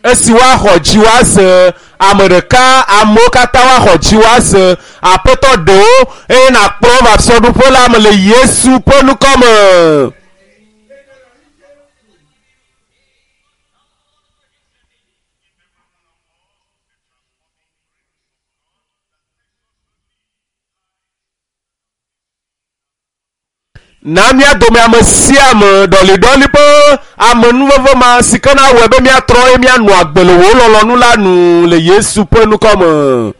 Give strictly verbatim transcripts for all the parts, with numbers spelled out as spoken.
Esi woaxɔ dzi woase ame ɖeka amewo katã woaxɔ dzi woase aƒetɔ ɖewo eye nakplɔ va fiaɖuƒe la me le Yesu ƒe ŋkɔme. Na mía dome ame sia ame ɖɔliɖɔli ƒe amenuveve ma si ke na wɔe be míatrɔ eye míanɔ agbe le wò lɔlɔ̃nu la nu le Yesu ƒe ŋkɔme.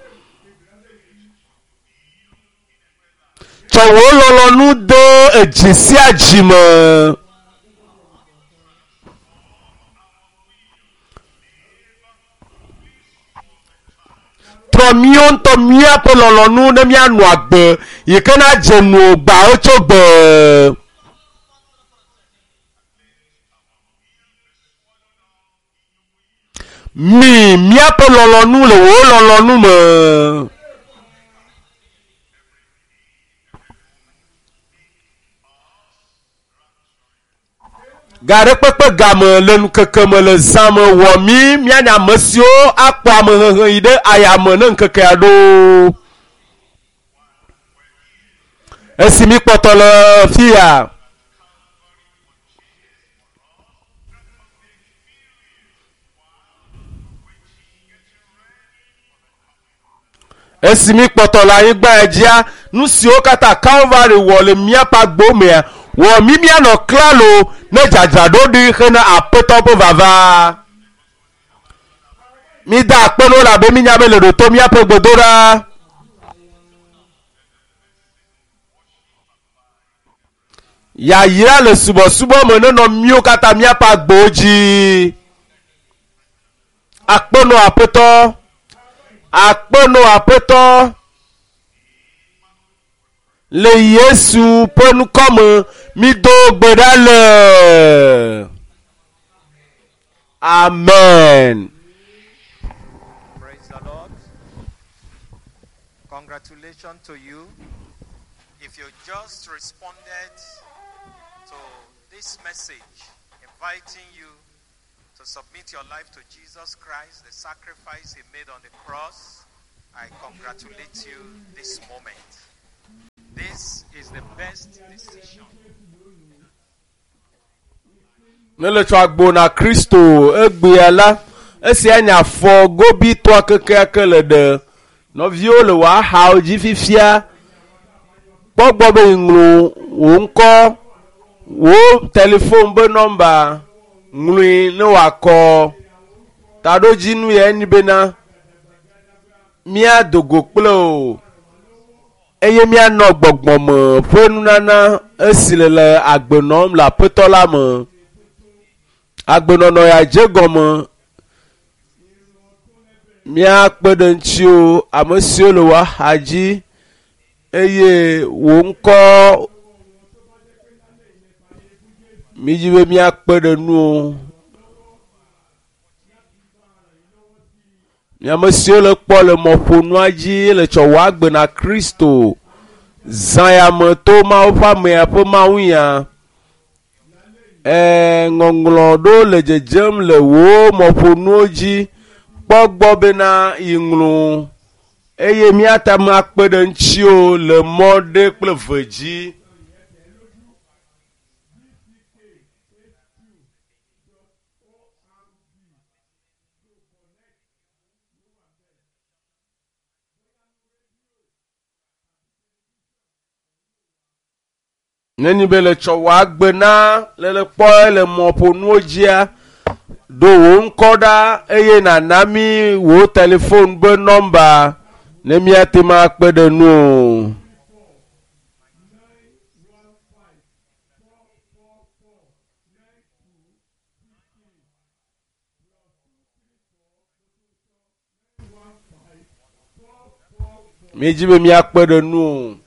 Tsɔ wò lɔlɔ̃nu de edzi sia dzi me. Trɔ míawo ŋutɔ míaƒe lɔlɔ̃nu ne míanɔ agbe yi ke na dze nu gbawo tso gbe. Mi míaƒe lɔlɔ̃nu le wò lɔlɔ̃nu me. Ga ɖe kpekpe game le ŋkeke me le zã me wɔ mí míanye ame siwo akpɔ amehehe yi ɖe ayame ne ŋkekea ɖo. Esi mi kpɔtɔ le fia. Esi mi kpɔtɔ le anyigba dzia, nu siwo katã Calvary wɔ le míaƒe agbo mea, wɔ mí míanɔ klalo ne dzadzraɖo ɖi hena aƒetɔ ƒe vava. Mi da akpe na wo elabe mínya be le ɖo to míaƒe gbedoɖa. Yayra le subɔsubɔ me nenɔ míwo katã míaƒe agbowo dzi. Akpe nɔ aƒetɔ. Akpe nɔ aƒetɔ. Le Yesu ƒe ŋkɔme mído gbe ɖa le. Amen. Praise the Lord. Congratulations to you. If you just responded to this message, inviting you to submit your life to Jesus Christ, the sacrifice he made on the cross, I congratulate you this moment. This is the best decision. Ne le tsɔ agbo na Kristo egbea la, esia nye afɔ gobitɔa kekeake le ɖe. Nɔviwo le wò axawo dzi fifia. Kpɔ gbɔ be ŋlɔ wò ŋkɔ, wò telefon be nɔmba, ŋlɔe ne wòakɔ. Taɖodzinu ya enyi bena míado go kple o eye míanɔ gbɔgbɔme ƒe nunana esi le le agbe nɔm le aƒetɔ la me. Agbenɔnɔ ya dze gɔme míakpe ɖe ŋutiwo ame siwo le wò axa dzi eye wò ŋkɔ mídzi be míakpe ɖe nuwo. Ame siwo le kpɔ le mɔƒonua dzi le tsɔ wò agbe na Kristo. Zã ya me to Mawu ƒe amea ƒe mawunya. Ɛɛ ŋɔŋlɔ ɖewo le dzedzem le wò mɔƒonuwo dzi. Kpɔ gbɔ bena yi ŋlɔ eye míate ŋu akpe ɖe ŋutiwo le mɔ ɖe kple ve dzi. Nenye be le tsɔ wò agbe na le le kpɔ le mɔƒonuwo dzia, ɖo wò ŋkɔ ɖa eye nàna mí wò telefon be nɔmba ne míate ŋu akpe ɖe nuwò. Míedzi be míakpe ɖe nuwò.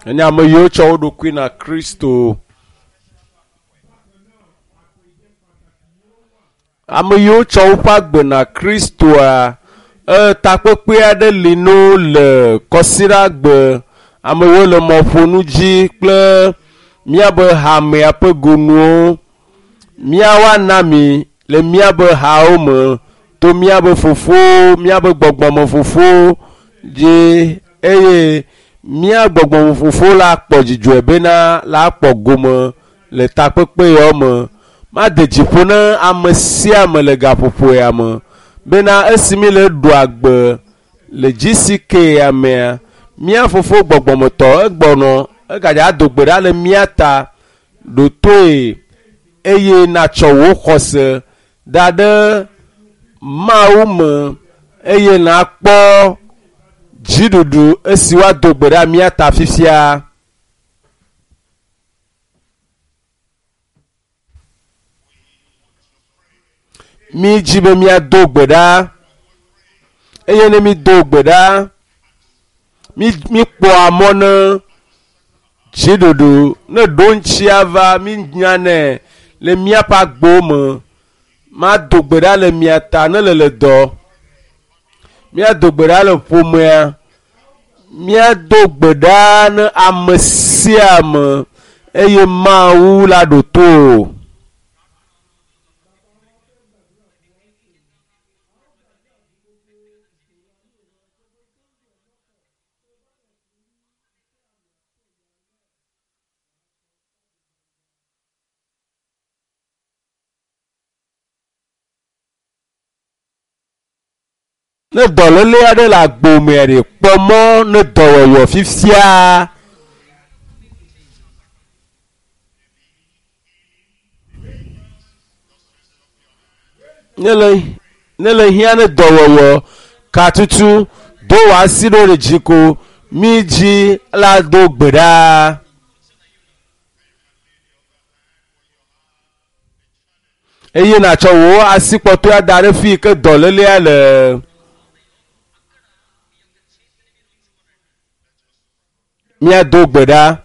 Enye ame yiwo tsɔ wo ɖokui na Kristo. Ame yiwo tsɔ woƒe agbe na Kristoa, e, takpekpe aɖe li no le kɔsiɖagbe Amewo le mɔƒonu dzi kple míabe hamea ƒe gonuwo. Míawoa na mi le míabe hawo me to míabe fofowo, míabe gbɔgbɔme fofowo dzi eye mía gbɔgbɔme fofo la kpɔ dzidzɔe bena la kpɔ gome le takpekpe yawo me. Made dzi ƒo na ame sia ame le gaƒoƒo ya me bena esi mi le ɖu agbe le G C K ya mea, mía fofo gbɔgbɔmetɔ egbɔnɔ egadza do gbe ɖa le mía ta ɖotoe eye natsɔ wò xɔse da ɖe Mawu me eye nakpɔ dziɖuɖu esi woado gbe ɖa mía ta fifia. Mi dzi be míado gbe ɖa eye ne mi do gbe ɖa, mi mikpɔa mɔ ne dziɖuɖu ne ɖo ŋutia va mi nyanɛ le míaƒe agbowo me. Mado gbe ɖa le mia ta ne le le dɔ. Míado gbe ɖa le ƒomea. Míado gbe ɖa ne ame sia ame eye Mawu la ɖo to o. Ne dɔléle aɖe le agbomea ɖe kpɔ mɔ ne dɔwɔwɔ fifia. Ne le ne le hiã ne dɔwɔwɔ katutu do wò asi ɖo ɖe dzi ko mi dzi la do gbe ɖa. Eye natsɔ wò asi kpɔtɔea da ɖe fi yi ke dɔlélea le. Míado gbe ɖa.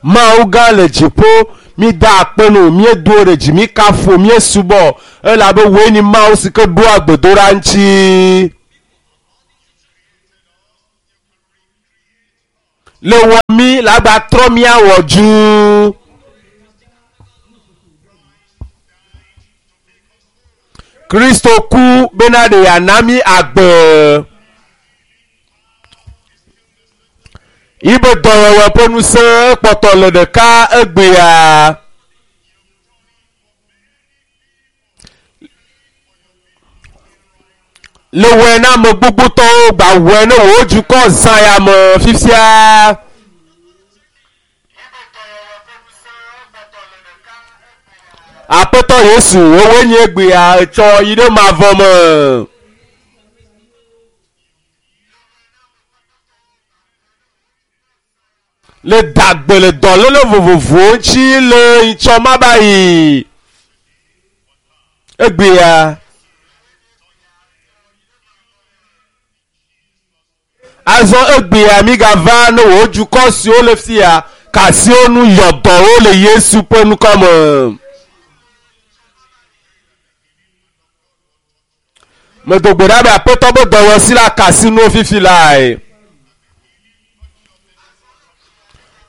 Mawu gã le dziƒo, mi da akpe no, míedo ɖe dzi, mi kafu, míesubɔ elabe woe ni Mawu si ke ɖoa gbedoɖa ŋuti. Le wɔ mi la gba trɔ míawɔ dzu. Kristo ku bena ɖe yeana mi agbe. Yibe dɔwɔwɔ ƒe ŋusẽ kpɔtɔ le ɖeka egbea. Le wɔe na ame gbogbotɔwo gba wɔe ne wò dukɔ zã ya me fifia. Aƒetɔ Yesu, wowoe nye egbea etsɔ yi ɖe mavɔ me. Le dagbe le dɔléle vovovowo ŋuti le ŋtsɔ ma ba yi. Egbea. Azɔ egbea mi gava ne wò dukɔ siwo le fia kasiwo nu yɔ dɔwo le Yesu ƒe ŋkɔ me. Medo gbe ɖa be Aƒetɔ be dɔwɔsi la kasi nuwo fifi lae.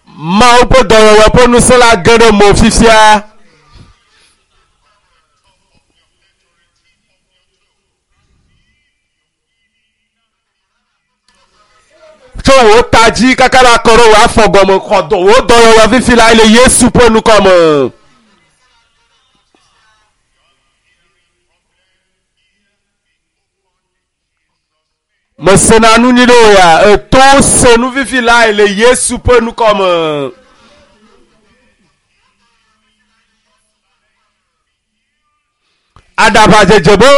Mawu ƒe dɔwɔwɔ ƒe ŋusẽ la ge ɖe mo fifia. Tso wò ta dzi kaka ɖe akɔ ɖe wò afɔ gɔme xɔ dɔ wò dɔwɔwɔ fifi lae le Yesu ƒe ŋkɔ me. Mesena nu nyui ɖe o ya eto se nu fifi lae le Yesu ƒe ŋkɔ me. Aɖaʋadzedze be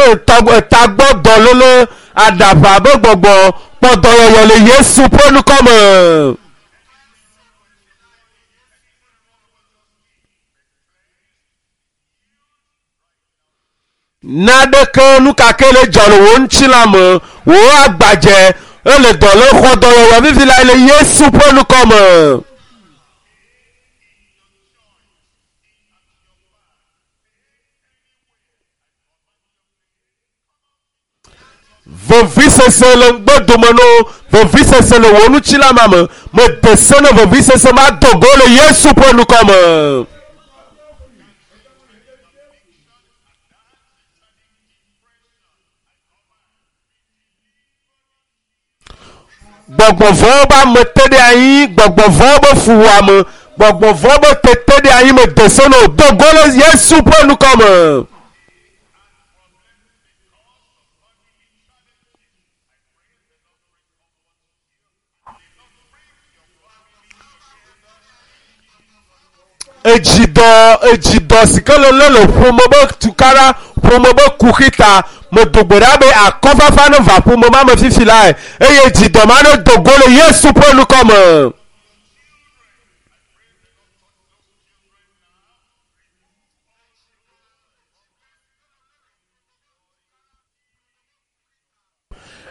tagbɔ dɔléle aɖaʋa be gbɔgbɔ kpɔ dɔyɔyɔ le Yesu ƒe ŋkɔ me. Naɖeke nu kake le dzɔ le wò ŋutilã me, wò agbadze ele dɔ le xɔ dɔyɔyɔ fifi la le Yesu ƒe ŋkɔ me. Vevisese le ŋgbedome no, vevisese le wò ŋutilã me. Mede se ne vevisese ma do go le Yesu ƒe ŋkɔ me. Gbɔgbɔ vɔ̃wo be ame te ɖe anyi, gbɔgbɔ vɔ̃wo be fuwɔame, gbɔgbɔ vɔ̃wo be tete ɖe anyi mede se ne wòdo go le Yesu ƒe ŋkɔ me. Edzidɔ, edzidɔ si ke le lé le ƒome be tukaɖa, ƒome be kuxi ta, medo gbe ɖa be akɔfafa ne va ƒome ma me fifi lae eye dzidɔ ma ne do go le Yesu ƒe ŋkɔ me.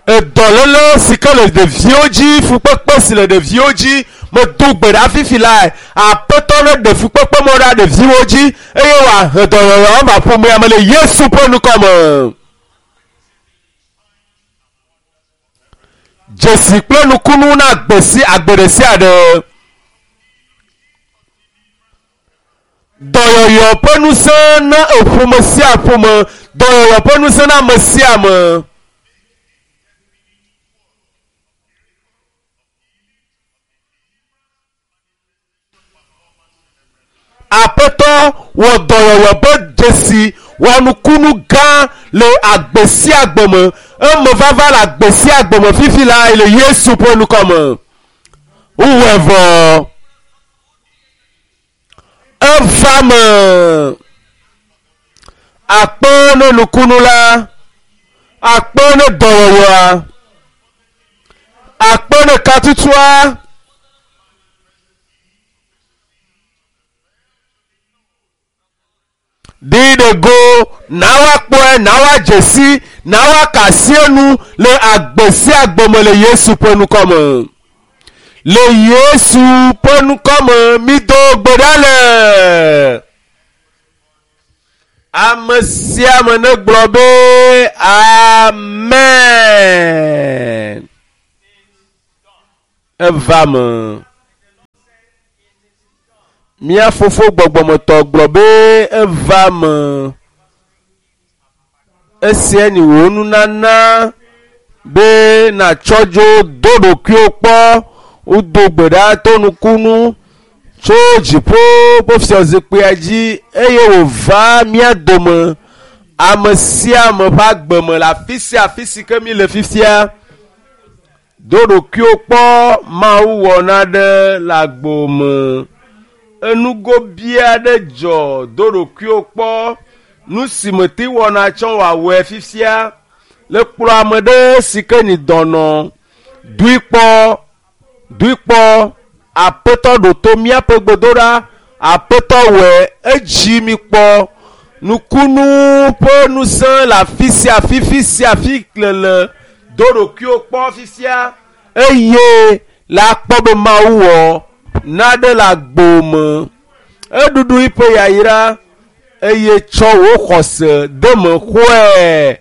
Edɔléle si ke le ɖeviwo dzi, fukpekpe si le ɖeviwo dzi, medo gbe ɖa fifi lae. Aƒetɔ ne ɖe fukpekpe mɔ ɖa ɖeviwo dzi eye wòahe dɔyɔyɔ va ƒomea me le Yesu ƒe ŋkɔ me. Dzesi kple nukunu na agbe si agbe ɖe sia ɖe. Dɔyɔyɔ ƒe ŋusẽ na eƒome sia ƒome, dɔyɔyɔ ƒe ŋusẽ na ame sia ame. Aƒetɔ wɔ dɔyɔyɔ ƒe dzesi wɔ nukunu gã le agbe sia agbe me. Eme vava le agbe sia agbe me fifi la le Yesu ƒe ŋkɔ me. Wowɔe vɔ. Eva me. Akpe ne nukunu la, akpe ne dɔyɔyɔa, akpe ne katutua. Ɖi ɖe go, na woakpɔe, na woadze si, na woaka asi enu le agbe sia agbe me le Yesu ƒe ŋkɔ me. Le Yesu ƒe ŋkɔ me, mido gbe ɖa le. Ame sia ame negblɔ be amen. Eva me. Mía fofo gbɔgbɔmetɔ gblɔ be eva me. Esia nyi wò nunana be nàtsɔ dzo do ɖokuiwò kpɔ, wodo gbe ɖa to nukunu tso dziƒo ƒe fiazikpuia dzi eye wòva mía dome ame sia ame ƒe agbe me le afi sia afi si ke mi le fifia. Do ɖokuiwò kpɔ Mawu wɔ naɖe le agbo me. Enugobi aɖe dzɔ do ɖokuiwò kpɔ nu si mete wɔna tsɔ wòawɔe fifia le kplɔ ame ɖe si ke nyi dɔnɔ doe kpɔ doe kpɔ aƒetɔ ɖo to míaƒe gbedoɖa aƒetɔ wɔe edzi mi kpɔ nukunu ƒe ŋusẽ le afi sia afi fi sia afi le le do ɖokuiwò kpɔ fifia eye le akpɔ be Mawu wɔ naɖe le agbo me. Eɖuɖu eƒe yayra eye tsɔ wò xɔse de me xɔe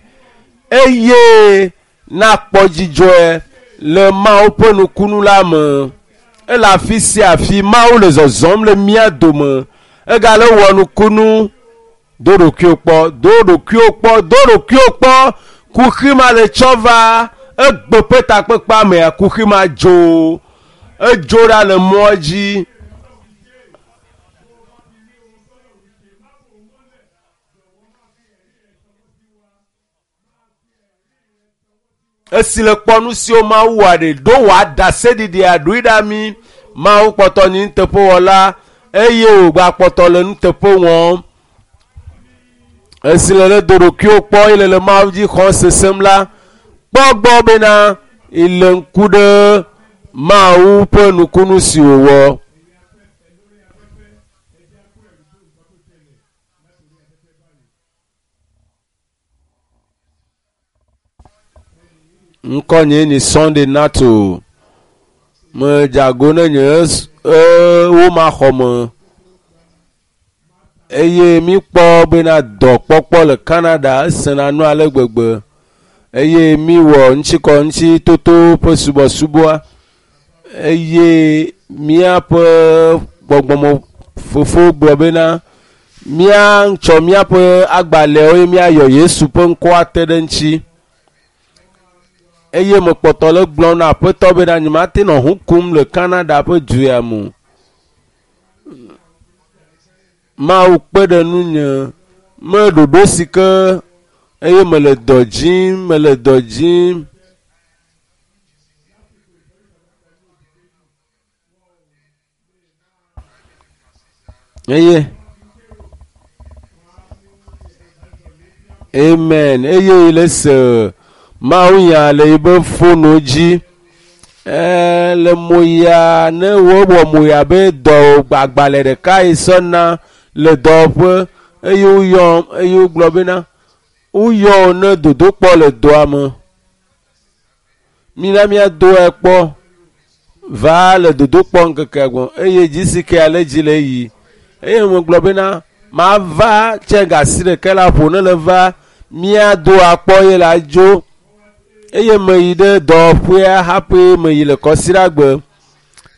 eye nakpɔ dzidzɔe le Mawu ƒe nukunu la me. Ele afi sia afi Mawu le zɔzɔm le mía dome. Egale wɔ nukunu. Do ɖokuiwò kpɔ, do ɖokuiwò kpɔ, do ɖokuiwò kpɔ. Kuxi ma le tsɔ va egbe ƒe takpekpea mea, kuxi ma dzo. Edzo ɖa le mɔa dzi. Esi le kpɔ nu siwo Mawu wɔ ɖe ɖo wòaɖaseɖiɖia ɖoe ɖa mi. Mawu kpɔtɔ nyi nuteƒewɔla eye wògakpɔtɔ le nuteƒe wɔm. Esi le le do ɖokuiwò kpɔ eye le le Mawu dzi xɔm sesem la, kpɔ gbɔ bena ile ŋku ɖe Mawu ƒe nukunu si wòwɔ. Ŋkɔ nye ni Sunday Nato. Medze ne nye wo ma xɔ me eye mi kpɔ bena dɔkpɔkpɔ le Canada esena nu ale gbegbe. Eye mi wɔ ŋutsikɔ ŋuti toto ƒe subɔsubɔa eye míaƒe gbɔgbɔme fofo gblɔ bena míatsɔ míaƒe agbalẽwo eye míayɔ Yesu ƒe ŋkɔa te ɖe ŋuti. Eye mekpɔtɔ le gblɔm na aƒetɔ bena nyemate nɔ ʋu kum le Canada ƒe du ya me o. Mawu kpe ɖe nunye me ɖoɖo si ke eye mele dɔ dzim mele dɔ dzim. Eye amen eye le se Mawu nya le yibe fono dzi. Ɛɛ le moya ne wowɔ moya be dɔ agbalẽ ɖeka yi sɔna le dɔwɔƒe eye woyɔm eye wogblɔ bena woyɔ ne dodokpɔ le dɔa me. Mina míado ekpɔ va le dodokpɔ ŋkekea gbɔ eye dzi si ke ale dzi le yi eye megblɔ bena mava tse gasi ɖeka la ƒo ne le va míado akpɔ ye la dzo eye meyi ɖe dɔwɔƒea hafi meyi le kɔsiɖagbe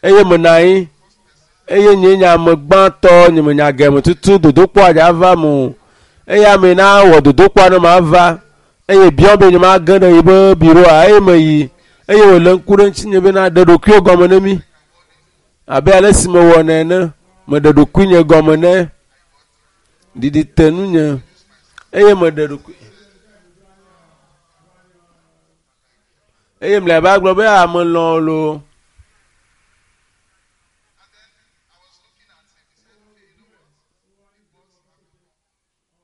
eye menɔ anyi eye nye nye ame gbãtɔ nye menya geme tutu dodokpɔa dza va me o eye ame na wɔ dodokpɔa ne mava eye biɔ be nye mage ɖe yibe biroa eye meyi eye wòle ŋku ɖe ŋutinye bena ɖe ɖokuiwo gɔme ne mí abe ale si mewɔnɛ ene meɖe ɖokuinye gɔme ne ɖiɖi te nunye eye meɖe ɖokui eye mlɔeba gblɔ be ame lɔ̃ loo.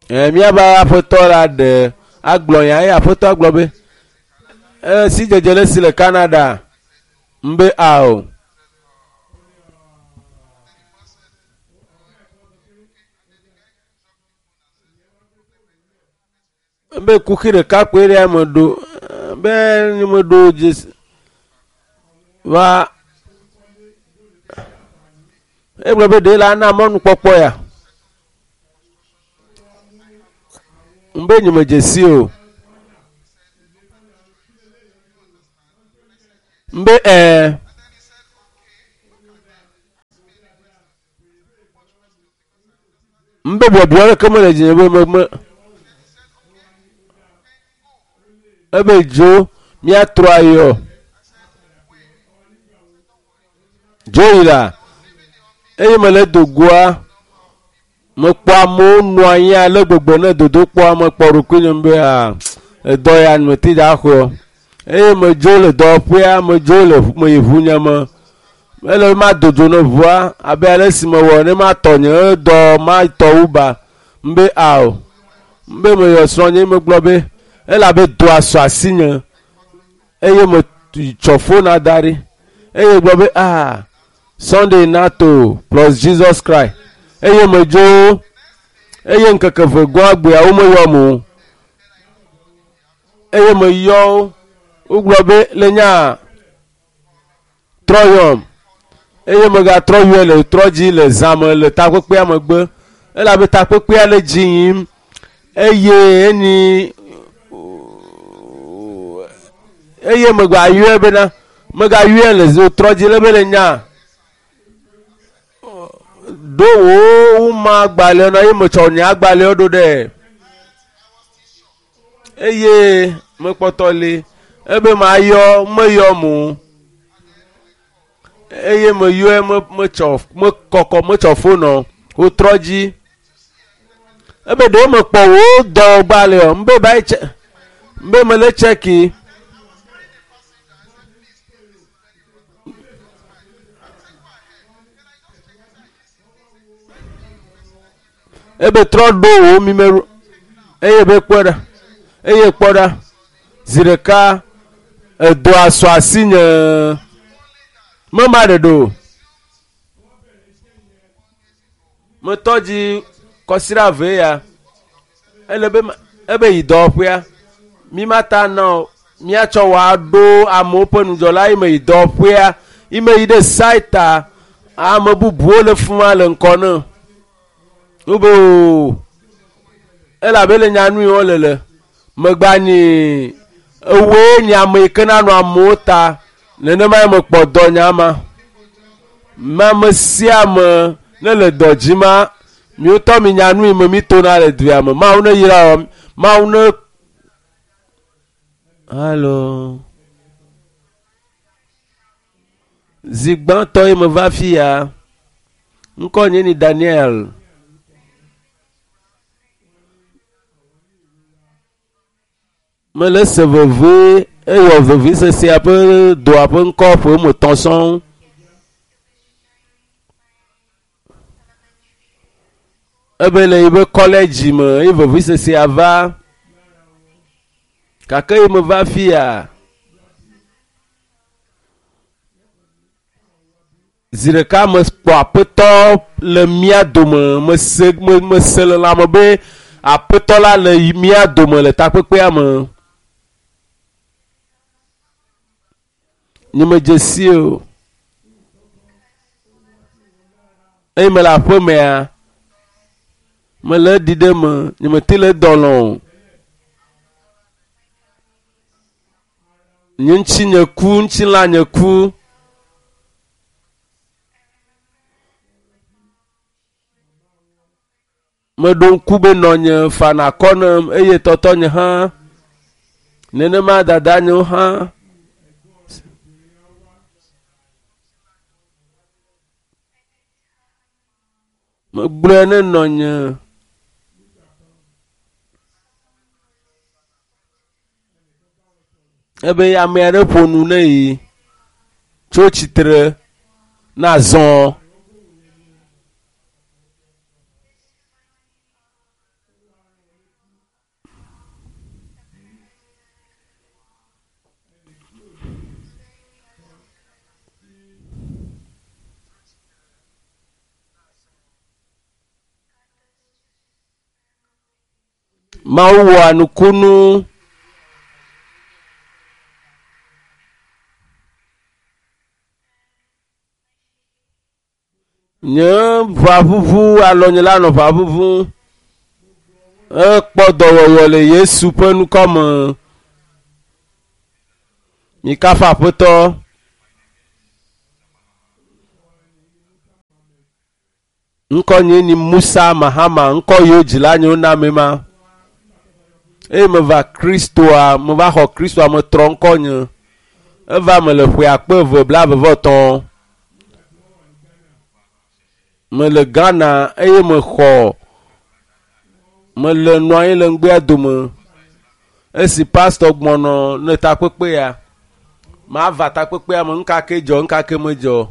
Ɛ míaƒe aƒetɔ la ɖe agblɔ nya eye aƒetɔ gblɔ be e sidzedze le si le Canada mbe ao. Be kuxi ɖeka koe ɖe ame ɖo be nye meɖo dzesi va egblɔ be ɖe la na mɔnukpɔkpɔ ya. Mbe nye medze si o. Mbe ɛɛ. Mbe biɔbiɔ ɖeke mele dzinye be me me ebe dzo míatrɔ ayɔ. Dzo yi la eye mele dogoa mekpɔ amewo nɔ anyi ale gbegbe ne dodokpɔa mekpɔ ɖokuinye be aa edɔ ya mete dza xɔe. Eye medzo le dɔwɔƒea medzo le meyi ʋunye me. Ele be mado dzo ne ʋua abe ale si mewɔ ne matɔ nye dɔ matɔ Uber mbe ao. Mbe meyɔ srɔ̃nye megblɔ be elabe dɔa sɔ asinye eye metsɔ fona da ɖi eye gblɔ be ah Sunday nato plus Jesus Christ eye medzo eye ŋkeke ve gɔa gbea womeyɔm o eye meyɔ wo wogblɔ be le nya trɔ yɔm eye megatrɔ yɔe le trɔ dzi le zãme le takpekpea megbe elabe takpekpea le dzi yim eye enyi eye megayɔe bena megayɔe le trɔ dzi le be le nya ɖo wò woma agbalẽwo na eye metsɔ nye agbalẽwo ɖo ɖe eye mekpɔtɔ li ebe mayɔ meyɔ mo eye meyɔe me metsɔ mekɔkɔ metsɔ fonɔ wotrɔ dzi ebe ɖewo mekpɔ wò dɔ gbalẽo mbe ba yi tse mbe mele tsɛki. Ebe trɔ ɖo wò mimero eye be kpɔ ɖa eye kpɔ ɖa zi ɖeka edɔa sɔ asinye mema ɖe ɖo metɔ dzi kɔsiɖa eve ya ele be ebe yi dɔwɔƒea mi mata na o míatsɔ wɔ aɖo amewo ƒe nudzɔla yi me yi dɔwɔƒea yi me yi ɖe saita ame bubuwo le fima le ŋkɔ ne wobe o elabe le nyanu yi wo le le megba nyi Ewoe nye ame yi ke nanɔ amewo ta. Nenema ye mekpɔ dɔ nya ma. Ame sia ame ne le dɔ dzi ma, miwotɔ mi nya nu yi me mi tona le dua me. Mawu ne yra wɔ, Mawu ne. Halo. Zi gbãtɔ ye meva fi ya. Ŋkɔ nye ni Daniel. Mele se veve eyɔ veve sesea ƒe doa ƒe ŋkɔ ƒe me tɔ̃ sɔŋ. Ebe le yiƒe kɔlɛdzi me eye veve sesea va. Gake ye meva fi ya. Zi ɖeka mekpɔ aƒetɔ le mía dome, mese, me, mese le lãme be aƒetɔ la le mía dome le takpekpea me. Nye medze si o. Eye mele aƒemea, mele ɖi ɖe me, nye mete le dɔ lɔ o. Nye ŋuti nye ku, ŋutilã nye ku. Meɖo ŋku be nɔnye fana akɔ nem eye tɔtɔnye hã. Nenema dadanyewo hã. Megblɔe ne nɔnye. Ebe ame aɖe ƒo nu ne yi tso tsitre na zɔ. Mawu wɔa nukunu. Nye ʋaʋuʋu alɔ nye la nɔ ʋaʋuʋu. Ekpɔ dɔwɔwɔ le Yesu ƒe ŋkɔ me. Mikafu Aƒetɔ. Ŋkɔ nye ni Musa Mahama, ŋkɔ yiwo dzila nyewo na ame ma. Eye meva Kristoa, meva xɔ Kristoa, metrɔ ŋkɔ nye. Eva me le ƒe akpe eve blaeve vɔ etɔ̃. Mele Ghana eye mexɔ, mele nɔ anyi le ŋgbea dome. Esi pastor gbɔnɔ ne takpekpea, mava takpekpea me, ŋka ke dzɔ, ŋka ke medzɔ.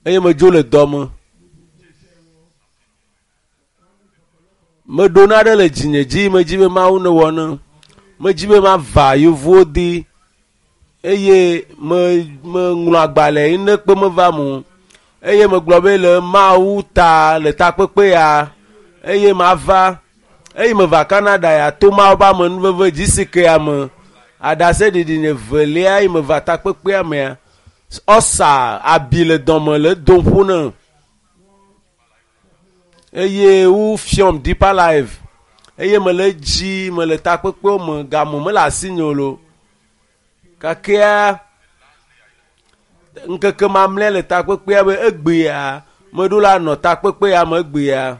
Eye medzo le dɔ me. Meɖo naɖe le dzinye dzi, medzi be Mawu ne wɔ ne. Medzi be mava yevuwo di eye me, meŋlɔ agbalẽ yi ne kpe meva mo. Eye megblɔ be le Mawu ta le takpekpea eye mava. Eye meva Canada ya to Mawu ƒe amenuveve dzi si kea me. Aɖaseɖiɖi nye velia eye meva takpekpea mea. Ɔsa abi le dɔme le dom ƒo ne. Eye wo fiɔm Deeper Life. Eye mele dzi, mele takpekpewo me, game mele asinye o lo. Gakea ŋkeke mamlɛ le takpekpea be egbea, meɖo la nɔ takpekpea me egbea.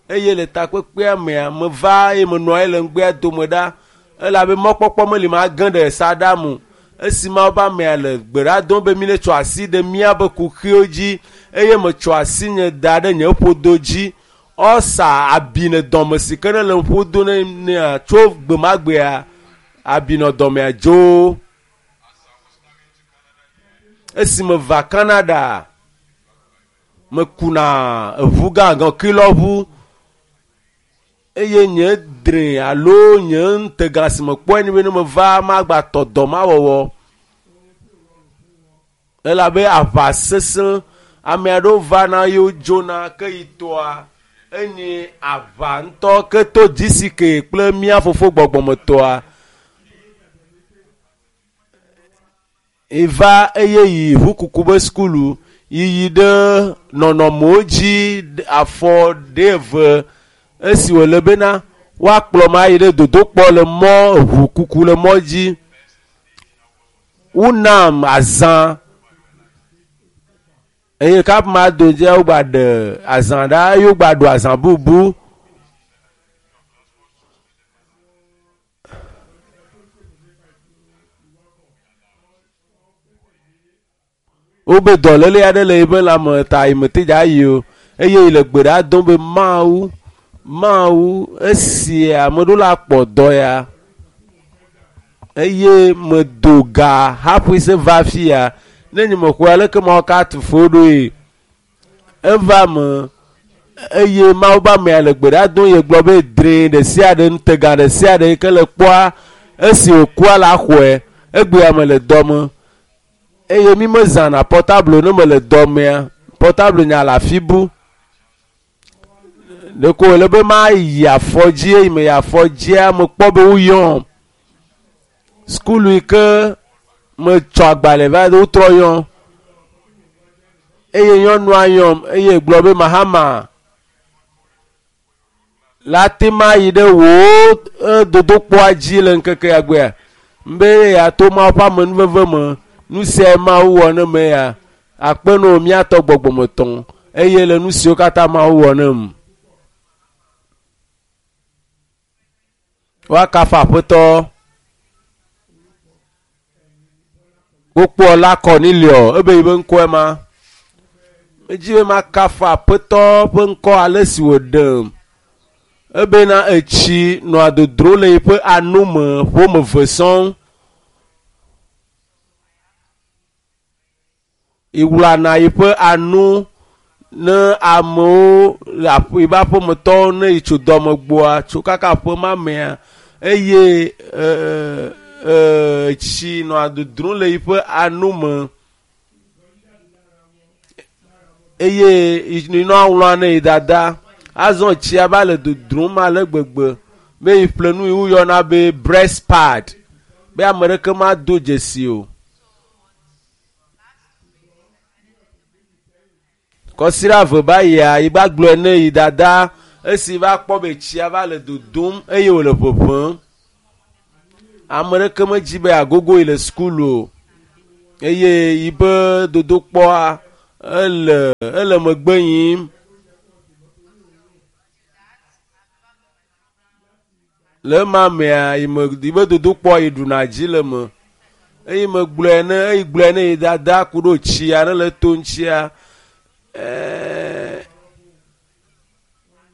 Eye le takpekpea mea, meva eye menɔ anyi le ŋgbea dome ɖa. Elabe mɔkpɔkpɔ meli mage ɖe saɖa me. Esi Mawu ƒe amea le gbe ɖa dom be mi ne tsɔ asi ɖe míaƒe kuxiwo dzi eye metsɔ asi nye da ɖe nye ƒodo dzi. Ɔsa abi ne dɔme si ke ne le ƒodo ne nea tso gbe ma gbea, abi nɔ dɔmea dzo. Esi meva Canada, mekuna eʋu gãgã kilɔʋu eye nye dre alo nye ŋutega si mekpɔe ni be ne meva magba tɔ dɔ ma wɔwɔ. Elabe aʋa sesẽ, ame aɖewo vana ye wodzona ke yi tɔa enye aʋa ŋutɔ ke to G C K kple mía fofo gbɔgbɔmetɔa. Eva eye yi ʋukuku be sukulu yiyi ɖe nɔnɔmewo dzi afɔ ɖe eve esi wòle bena Woakplɔ ma yi ɖe dodokpɔ le mɔ ʋu kuku le mɔ dzi. Wonam azã eye kap ma do dzia wogba ɖe azã ɖa eye wogba ɖu azã bubu. Wobe dɔléle aɖe le yiƒe lãme ta yi mete dza yi o eye yi le gbe ɖa dom be Mawu, Mawu esi ame ɖewo la kpɔ dɔ ya eye medo ga hafi se va fia ne nye mexɔe aleke mawo ka tu fo ɖoe. Eva me eye Mawu be amea le gbe ɖa dom ye gblɔ be drẽ ɖe sia ɖe ŋutega ɖe sia ɖe yi ke le kpɔa esi wòkua la xɔe egbea me le dɔme eye mi mezãna portable ne mele dɔmea portable nya le afi bu ɖeko wòle be mayi afɔdzi eye meyi afɔdzia mekpɔ be woyɔm sukulu yi ke metsɔ agbalẽ va wotrɔ yɔm eye nyɔnua yɔm eye gblɔ be Mahama la te ma yi ɖe wò dodokpɔa dzi le ŋkeke ya gbea be yeato Mawu ƒe amenuveve me nu siae Mawu wɔ ne me ya akpe no míatɔ gbɔgbɔmetɔ eye le nu siwo katã Mawu wɔ nem. Woakafu Aƒetɔ. Wokpɔ la Cornelio ebe yiƒe ŋkɔe ma. Medzi be makafu Aƒetɔ ƒe ŋkɔ ale si wòɖem. Ebena etsi nɔa dodro le yiƒe anome ƒome eve sɔŋ. Iwlana yiƒe anu ne amewo le aƒe yiƒe aƒemetɔwo ne yi tso dɔme gbɔa tso kaka aƒe ma mea eye ee ee tsi nɔa dodrom le yiƒe anome eye nɔa ŋlɔa ne yi dada azɔ tsia va le dodrom ale gbegbe be yi ƒle nu yi woyɔna be breast pad be ame ɖeke mado dzesi o. Kɔsiɖa eve va yia yi va gblɔe ne yi dada esi va kpɔ be tsia va le dodom eye wòle ʋeʋẽm. Ame ɖeke medzi be agogo yi le sukulu o eye yiƒe dodokpɔa ele ele megbe yim. Le ema mea yi me yiƒe dodokpɔa yi ɖuna dzi le me eye megblɔe ne eyi gblɔe ne yi dada ku ɖo tsia ne le to ŋutsia. Ɛɛ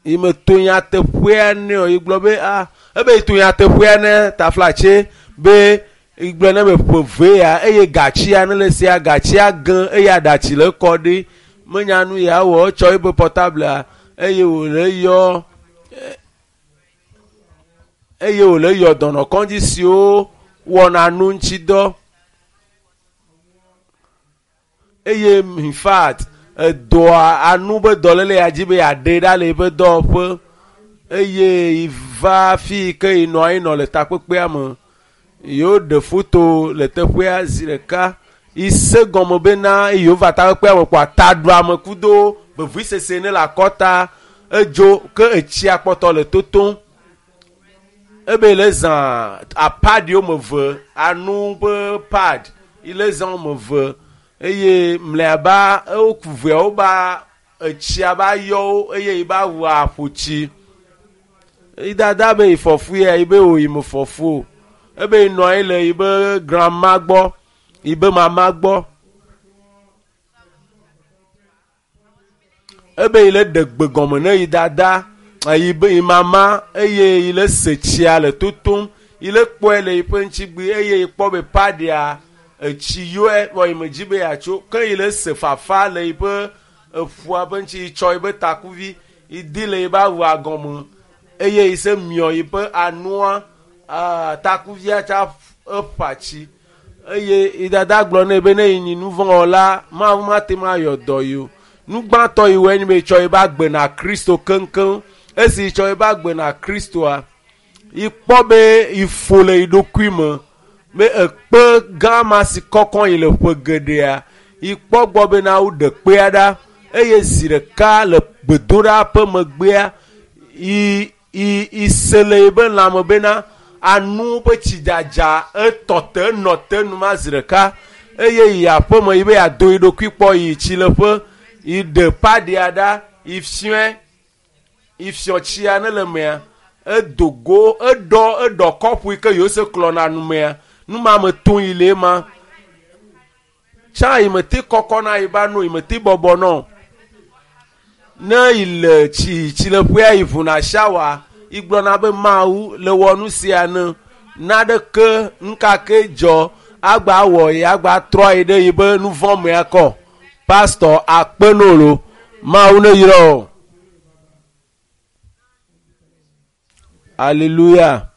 yi me to nyateƒea ne o yi gblɔ be ah ebe yi to nyateƒea ne taflatse be yi gblɔ ne be ƒe ve ya eye gatsia ne le sia gatsia ge eye aɖatsi le kɔ ɖi menya nu ya wɔ etsɔ eƒe portable eye wòle yɔ eye wòle yɔ dɔnɔkɔdzi siwo wɔna nu ŋuti dɔ eye in fact edɔa anu be dɔléle ya dzi be yeaɖe ɖa le eƒe dɔwɔƒe eye yi va fi yi ke yi nɔ anyi nɔ le takpekpea me yewo ɖe foto le teƒea zi ɖeka yi se gɔme bena yewo va takpekpea me kpɔa taɖuame kudo vevisese ne le akɔta edzo ke etsia kpɔtɔ le totom ebe le zã apad woame eve anu ƒe pad yi le zã woame eve eye mlɔeba ewoku veawo ba etsia ba yɔ wo eye yi ba wɔ aƒo tsi. Yi dada be yi fɔfu ya yi be wò yi me fɔfu o. Ebe yi nɔ anyi le yi be grandma gbɔ, yi be mama gbɔ. Ebe yi le ɖe gbe gɔme ne yi dada, yi be yi mama eye yi le se tsia le totom. Yi le kpɔe le yiƒe ŋutsigbi eye yi kpɔ be padia etsi yɔe vɔ yi me dzi be yeatso ke yi le se fafa le yiƒe eƒua ƒe ŋuti yi tsɔ yiƒe takuvi yi di le yiƒe awua gɔme eye yi se miɔ yiƒe anua aa takuvia tsa eƒa tsi eye yi dada gblɔ nɛ be ne yi nyi nuvɔ̃wɔla Mawu mate ŋu ayɔ dɔ yi o. Nu gbãtɔ yi wɔe nye be yi tsɔ yiƒe agbe na Kristo keŋkeŋ. Esi yi tsɔ yiƒe agbe na Kristoa yi kpɔ be yi fo le yi ɖokui me be ekpe gã ma si kɔkɔ yi le ƒe geɖea yi kpɔ gbɔ bena woɖe kpea ɖa eye zi ɖeka le gbedoɖa ƒe megbea yi I isele be lãme bena anu be tsidzadza etɔ te enɔ te numa zi ɖeka eye yi aƒeme yi be yeado yi ɖokui kpɔ yi tsileƒe yi ɖe paɖia ɖa yi fiɔe yi fiɔ tsia ne le mea edo go eɖɔ eɖɔ kɔpu yi ke yewo se klɔna numea numa me to yi le ema tsã yi me te kɔkɔ na yi ba no yi me te bɔbɔ nɔ ne yi le tsi tsileƒea yi ʋuna shawa yi gblɔna be mawu le wɔ nu sia ne naɖeke nukake dzɔ agba wɔ yi agba trɔ yi ɖe yi be nu vɔ mea kɔ pastɔ akpe nolo mawu ne yrɔ o hallelujah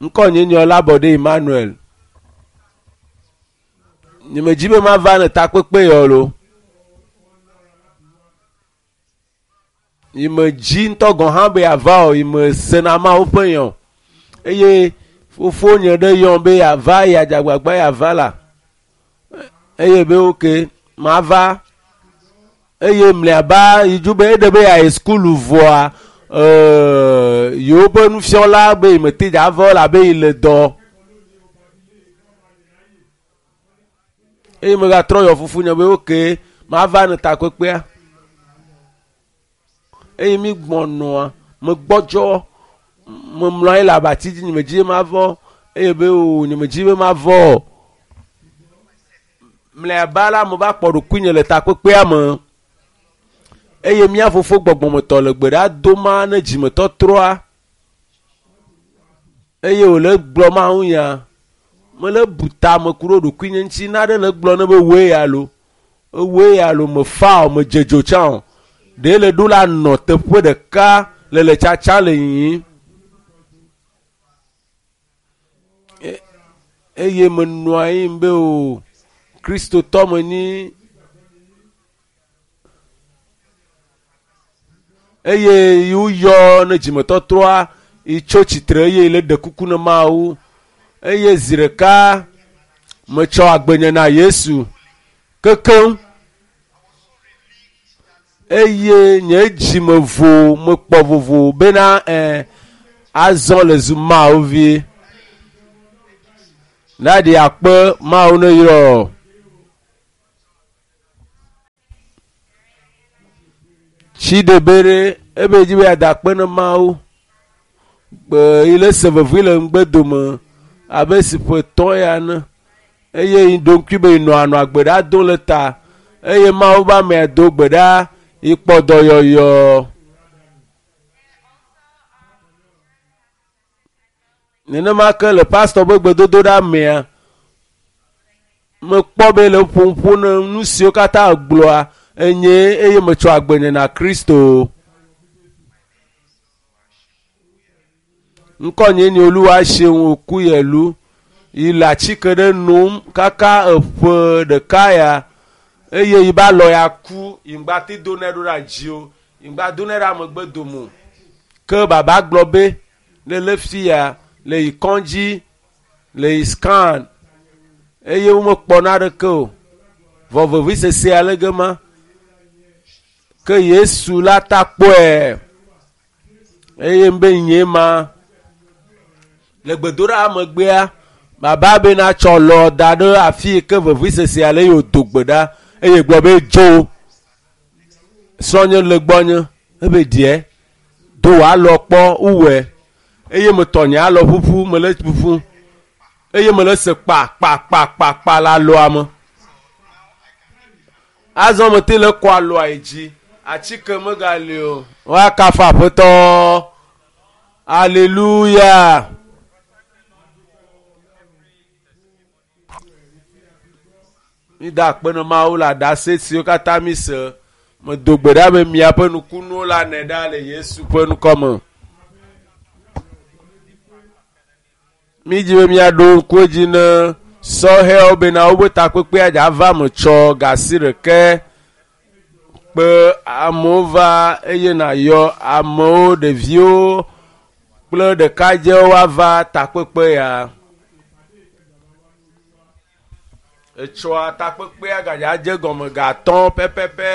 ŋkɔ nye nye Olabode Emmanuel nyemedzi be mava ne takpekpe yɔ lo yi me dzi ŋutɔ gɔ̃ hã be yeava o yi me sena mawu ƒe yɔ eye fofonye ɖe yɔm be yeava yeadze agbagba yeava la eye be oke mava eye mliaba yi dzo be eɖe be yeayi sukulu vɔa ee yewo ƒe nufiɔla be yi mete dza va o labe yi le dɔ eye megatrɔ yɔ fofonye be oke mava ne takpekpea eye mi gbɔnɔa megbɔdzɔ memlɔ anyi le abati dzi nyemedzi be mavɔ eye be o nyemedzi be mavɔ o mlɔeba la meva kpɔ ɖokuinye le takpekpea me eye mía fofo gbɔgbɔmetɔ le gbe ɖa doma ne dzimetɔtrɔa eye wòle gblɔ mawu nya mele bu tame ku ɖe ɖokuinye ŋuti naɖe le gblɔ ne be woe ya lo ewoe ya lo mefa o medze dzo tsã o ɖe le ɖo la nɔ teƒe ɖeka le le tsatsa le yiyim E- eye menɔ anyi be o kristotɔ menyi eye woyɔ ne dzimetɔtrɔa yi tso tsitre eye le ɖe kuku ne mawu eye zi ɖeka metsɔ agbenye na yesu kekeŋ eye nye dzime vo mekpɔ vovo bena ɛ azɔ le zu mawu vie naɖi akpe mawu ne yrɔ tsi ɖebe ɖe ebe dzi be yeada akpe ne mawu gbe yi le se vevi le ŋgbe dome abe si ƒe tɔ̃ ya ne eye yi ɖo ŋkui be yi nɔ anɔ agbe ɖa do le ta eye mawu be amea do gbe ɖa yi kpɔ dɔyɔyɔ nenema ke le pastɔ be gbedodoɖa mea mekpɔ be le ƒoƒo ne nu siwo katã gblɔa enye eye metsɔ agbenye na kristo ŋkɔ nye nye oluwa seun okuyelu yi le atike ɖe nom kaka eƒe ɖeka ya eye yi ba lɔ ya ku yi ŋgba te do nɛ ɖo ɖe dzi o yi ŋgba do nɛ ɖe amegbe dome o ke baba gblɔ be ne le fi ya le yi kɔndzi le yi scan eye womekpɔ naɖeke o vɔ vevisese ale ge ma ke yesu la ta kpɔe eye be nye ma le gbedoɖa megbea baba be na tsɔ lɔ da ɖe afi yi ke vevisese ale ye wòdo gbe ɖa eye gblɔ be dzo srɔ̃nye le gbɔnye ebe ɖiɛ do wòalɔ kpɔ wowɔe eye metɔ nye alɔ ƒuƒu mele ƒuƒu eye mele se kpa kpa kpa kpa kpa le alɔa me azɔ mete le kɔ alɔa yi dzi atike megali o woakafu aƒetɔ aleluya mi da akpe ne mawu le aɖase siwo katã mi se medo gbe ɖa be miaƒe nukunuwo la nɛ ɖa le yesu ƒe ŋkɔme mi dzi be miaɖo ŋku edzi ne sɔhɛwo bena woƒe takpekpea dza va me tsɔ gasi ɖeke kpe amewo va eye nàyɔ amewo ɖeviwo kple ɖekadzewo ava takpekpe ya etsɔa takpekpea gadza dze gɔme gatɔ̃ pɛpɛpɛ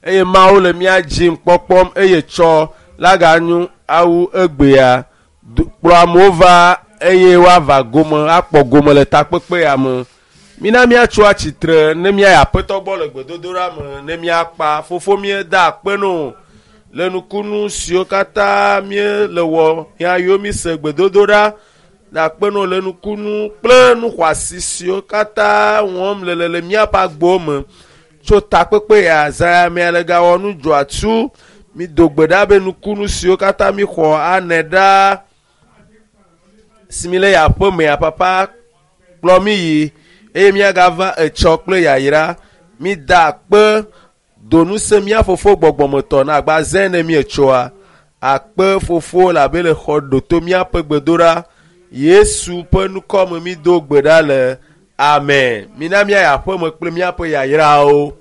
eye mawu le mía dzim kpɔkpɔm eye tsɔ la ganyo awu egbea Do- kplɔ amewo va eye woava gome akpɔ gome le takpekpe ya me mina míatso atsitre ne míayi aƒetɔ gbɔ le gbedodoɖa me ne míakpa fofo míeda akpe no le nukunu siwo katã míele wɔ ya yiwo míse gbedodoɖa le akpe no le nukunu kple nu xɔasi siwo katã wɔm le le le míaƒe agbowo me tso takpekpe ya zã ya mea le gawɔ nu dzɔatsu mi do gbe ɖa be nukunu siwo katã mi xɔ ane ɖa si mi le ya aƒe mea papa kplɔ mi yi eye miagava etsɔ kple yayra mi da akpe donu se mía fofo gbɔgbɔmetɔ na agba zẽ ne mietsoa akpe fofo le abe le xɔ ɖoto míaƒe gbedoɖa yesu ƒe nukɔ me mi do gbe ɖa le amen mina míayi aƒeme kple míaƒe yayrawo.